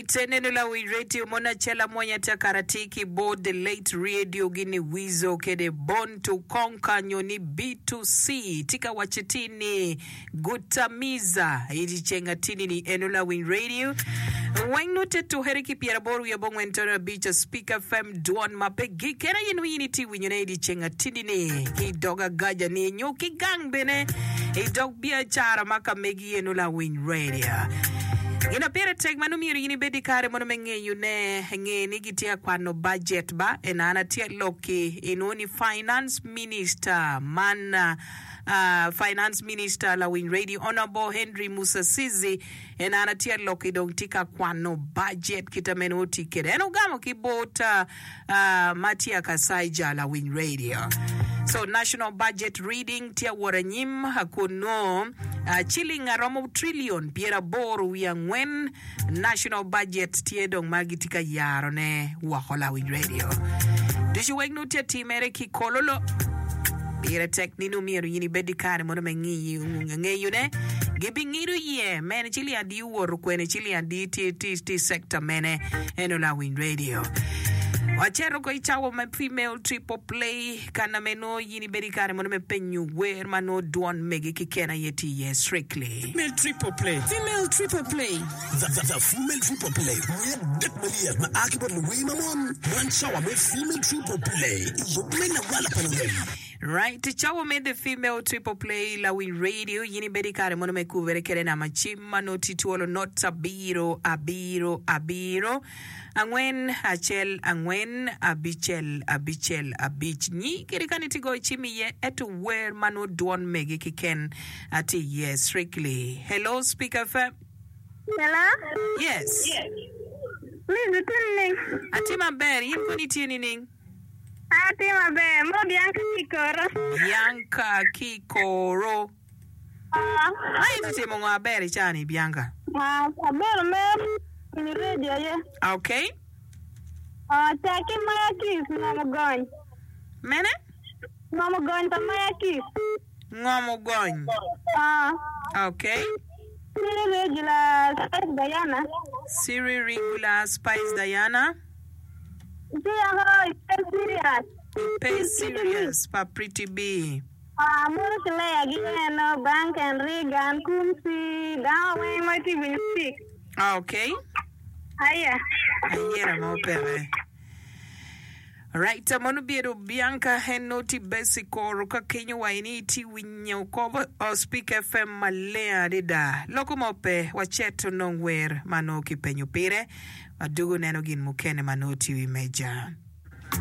Right, eneno lawiny radio mono acel amwonya ata kara atir ki bot the late radio gini Weasel kede Born to Conquer nyo ni B2C tye ka waco atir ni Gutamiza i dyeceng atini ni eno lawiny radio weng nongo te tukere ki pyeraboro wiye abongwen tono abic Speak FM dwon ma pe gik kene aye nongo in itye winyone i dyeceng atini ni ki i dog agaja ni nyo ki gang bene i dog biacara ma ka megi eno lawiny radio. Gin ma pire tek ma nongo myero in ibed i kare mono me ngeyo ne nge ni gitye ka kwano budget ba en an atye lok-ki inongo ni finance minister man Finance Minister Lawiny Radio Honourable Henry Musasizi en an atye lok-ki dong tye ka kwano budget kita meno oti kede en ogamo ki bot Matia Kasaija Lawiny Radio. So national budget reading tye awot anyim kun nongo ciling aromo trillion pyeraboro wiye angwen National budget tye dong ma gitye ka yarone woko lawiny radio ducu weng nongo tye atimere ki kololo. Pire tek ni nongo myero in ibed ki kare mono me ngeyone. Gibingido iye mene ciling adi owoto kwene ciling adi tye tye i sector mene eno lawiny radio. Waceto ko i cawa me female triple play kana me nongo in ibedo ki kare mono me penyo wer ma nongo dwon megi keken aye tye iye strictly. Female Triple Play. Female Triple Play. The, the, the Female Triple Play. Wer adek malyet ma a ki bot luwer ma mon. Man cawa me Female Triple Play i yub me lawala pa lurem. Right, cawa me The Female Triple Play Lawiny Radio, in ibedo i kare mono me kubere kede nama cim ma nongo tye twolo not abiro abiro abiro angwen acel angwen abicel abicel abic. Nyi kede kani itye goyo cim iye ento wer ma nongo dwon megi keken Atye iye strictly. Hello Speaker FM. Hello. Yes. Liz itye nining? Atye maber, in kono itye nining? Atye maber. Mo Bianca ki koro. Bianca ki koro. Ah. Ma itye timo ngo aber i caa-ni Bianca? Ah, abedo me winyo radio aye. Okay. Ah, cak ki Maya Kiss ngom ogony. Mene? Ngom ogony pa Maya Kiss. Ngom ogony. Ok. Siri Regular Spice Diana. Siri Regular Spice Diana. Ci yako ipe serious. Ipe serious pa Pretty Bee. Amuru ki Leah gi eno, Bank and Reagan, Kumsi, dano weng ma tye winyo speak. Ok. Aya. Ayera mo peke. Right, mono bedo Bianca en nongo tye basic koro ka kenyo wa ini itye winyo kobo Speak FM maleng adada. Loko mo pe, wacet onong wer ma nongo kipenyo pire, wadugo neno gin mukene ma nongo tye i wi meja.